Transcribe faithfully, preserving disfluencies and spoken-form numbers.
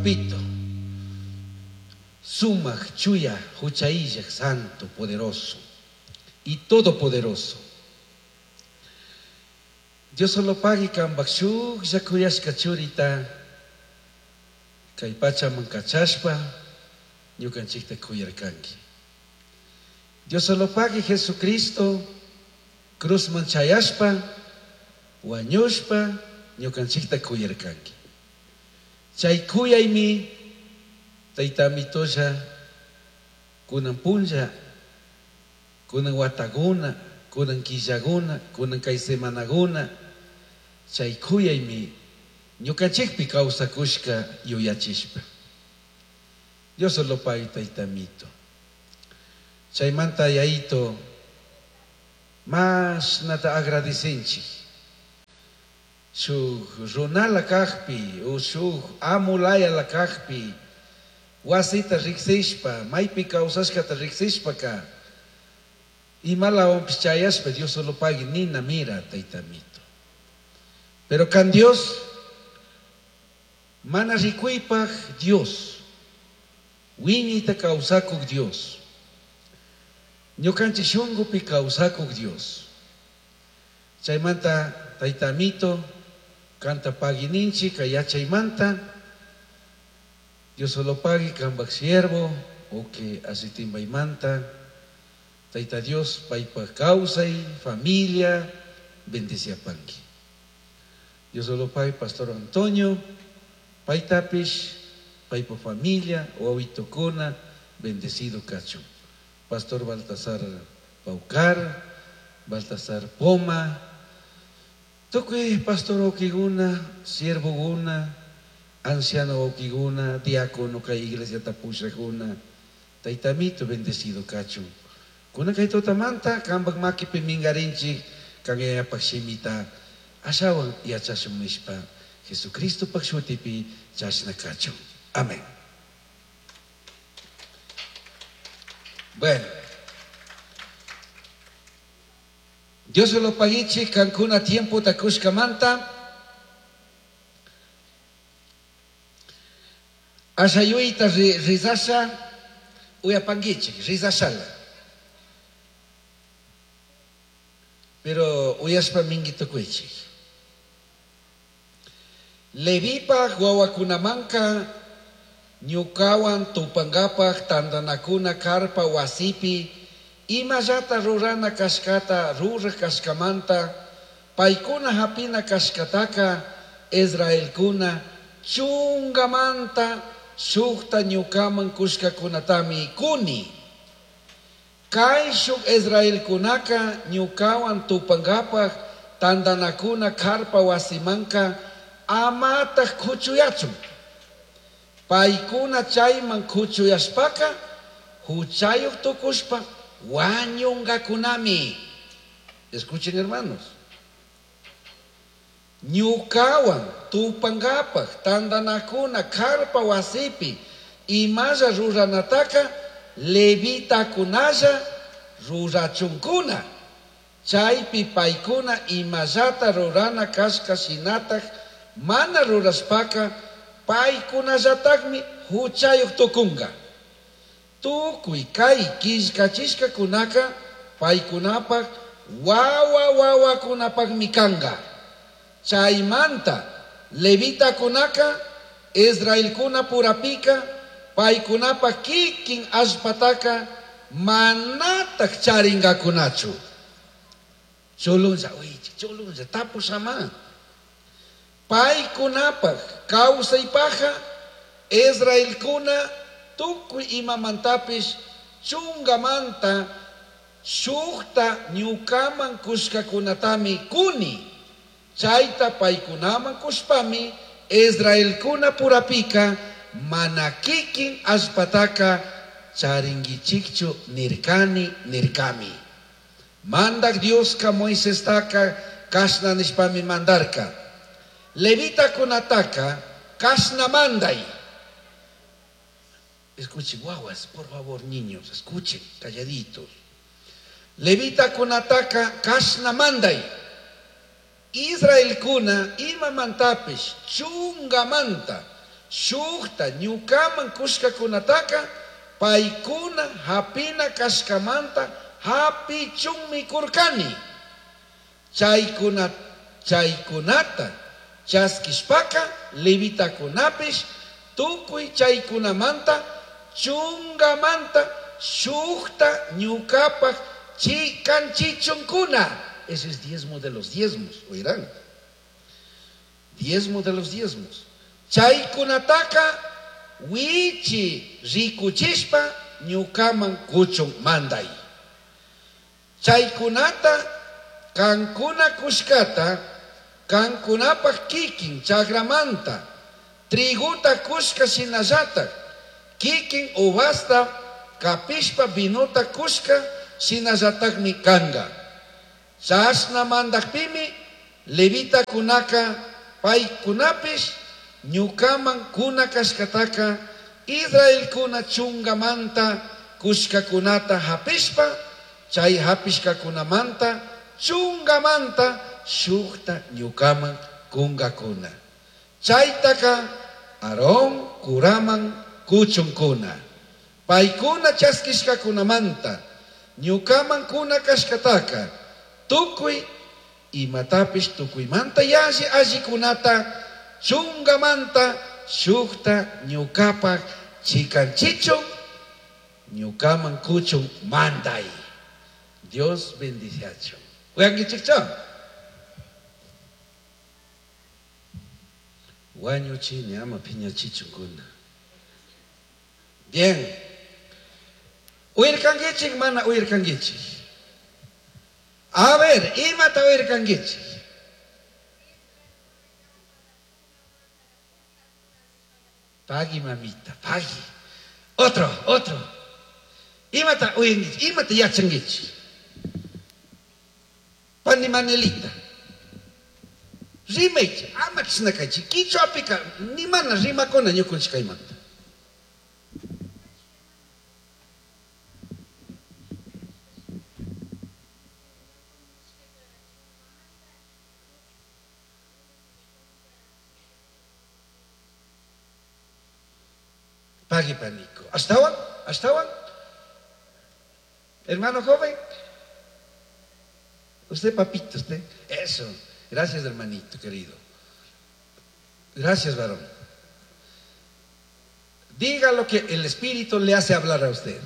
Papito, Sumaj, Chuya, Huchaillaj, Santo, Poderoso y Todopoderoso. Dios solo pagui kambaj shuklla kuyashka churita kay pachaman kachashpa ñukanchikta kuyarkanki. Dios solo pagui Jesucristo cruzman chayashpa wañushpa ñukanchikta kuyarkanki. Chay kuyaymi tayta amitolla kunan punlla kunan wataguna kunan killaguna kunan kay semanaguna chay kuyaymi ñukanchikpi kawsakushka yuyachishpa. Dios solo pagui tayta amito. Chaymanta yayito mashnata agradecenchik. Shuk runala kajpi o shuk amulayala kajpi wasita riksishpa maypi kawsashkata riksishpaka imalawanpish chayashpa Dios solo pagui nina mira tayta amito. Pero kan Dios mana rikuypaj Dios wiñayta kawsakuk Dios ñukanchik shunkupi kawsakuk Dios. Chaymanta tayta amito kanta paguininchik kay yachaymanta Dios solo pagui kambaj siervo o que asitimbaymanta Tayta Dios paypaj kawsay familia bendeciapanki. Dios solo pagui Pastor Antonio paytapish paypa familia wawitukuna bendecido kachun. Pastor Baltasar Paucar, Baltasar Poma, tukuy pastor wawkikuna, siervokuna, anciano wawkikuna, diácono kay iglesiata pushakuna, tayta amito bendecido kachun. Kunan kay tutamanta kambaj makipi mingarinchik kan yayapaj shimita ashawan yachashun nishpa Jesucristopaj shutipi chashna kachun. Amén. Bueno, Dios se lo paguichi kankuna tiempo takushkamanta ashayuyta rizasha uyapanguichi rizashala. Pero uyashpa mingi tukuichi. Levipaj wawakunamanka ñukawan tupangapaj tandanakuna karpa wasipi imallata rurana kashkata ruraj kashkamanta paykuna hapina kashkataka Israelkuna chungamanta shukta ñukaman kushkakunatami kuni. Kay shuk Israelkunaka ñukawan tupangapaj tandanakuna karpa wasimanka amataj kuchuyachun. Paykuna chayman kuchuyashpaka huchayuq tukushpa wañungakunami. Escuchen, hermanos. Ñukawan tupangapaj tandanakuna karpa wasipi imalla ruranataka levitakunalla rurachunkuna. Chaypi paykuna imallata rurana kashka shinataj mana rurashpaka paykunallatakmi huchayuq tukunga. Tukuy kay killkachishkakunaka paykunapaj wawa wawakunapajmi kanga. Chaymanta levitakunaka Israelkuna purapika paykunapaj kikin allpataka manataj charingakunachu. Chulunlla, uy, chulunlla, tapushama. Paykunapaj kawsaypaja Israelkuna tukuy imamantapish chungamanta shukta ñukaman kushkakunatami kuni. Chayta paykunaman kushpami Israelkuna purapika mana kikin allpataka charinkichikchu nirkani nirkami. Mandak Dioska Moisestaka kashna nishpami mandarka. Levitakunataka kashna manday. Escuchen, guaguas, por favor, niños, escuchen, calladitos. Levitakunataka kashna manday. Israelkuna imamantapish chungamanta shukta ñukaman kushkakunataka paykuna hapina kashkamanta hapichunmi kurkani. Chaykuna chaykunata chaskishpaka levitakunapish tukuy chaykunamanta chungamanta shukta ñukapaj chikanchichunkuna. Ese es diezmo de los diezmos, oirán. Diezmo de los diezmos. Chaykunataka wichi rikuchishpa ñukaman kuchun manday. Chaykunata kankuna kushkata kankunapaj kikin chagramanta triguta kushka shinallatak kikin uvasta kapishpa vinuta kushka shinallatakmi kanga. Chashna mandakpimi levitakunaka paykunapish ñukaman kuna kashkataka Israelkuna chungamanta kushkakunata hapishpa chay hapishkakunamanta chungamanta shukta ñukaman kungakuna. Chaytaka Aarón kuraman kuchunkuna. Paykuna chaskishkakunamanta ñukaman kuna kashkataka tukuy imatapish tukuymanta yalli allikunata chungamanta shukta ñukapaj chikanchichun ñukaman kuchun manday. Dios bendiciachun. Uyankichikcha. Wañuchini ama piñachichunkuna. Bien. Uyarkankichik mana uyarkankichik. A ver, imata uyarkankichik. Pagui mamita, pagui. Otro, otro. Imata uyankichik, imata yachankichik. Pani Manelita. Rimaychi, ama chishnakaychik. Quichuapika ni mana rimakuna ñukunchik kaymanta. Pagui panico. ¿Ashtawan? ¿Ashtawan? Hermano joven. Usted, papito, usted. Eso. Gracias, hermanito querido. Gracias, varón. Diga lo que el Espíritu le hace hablar a usted.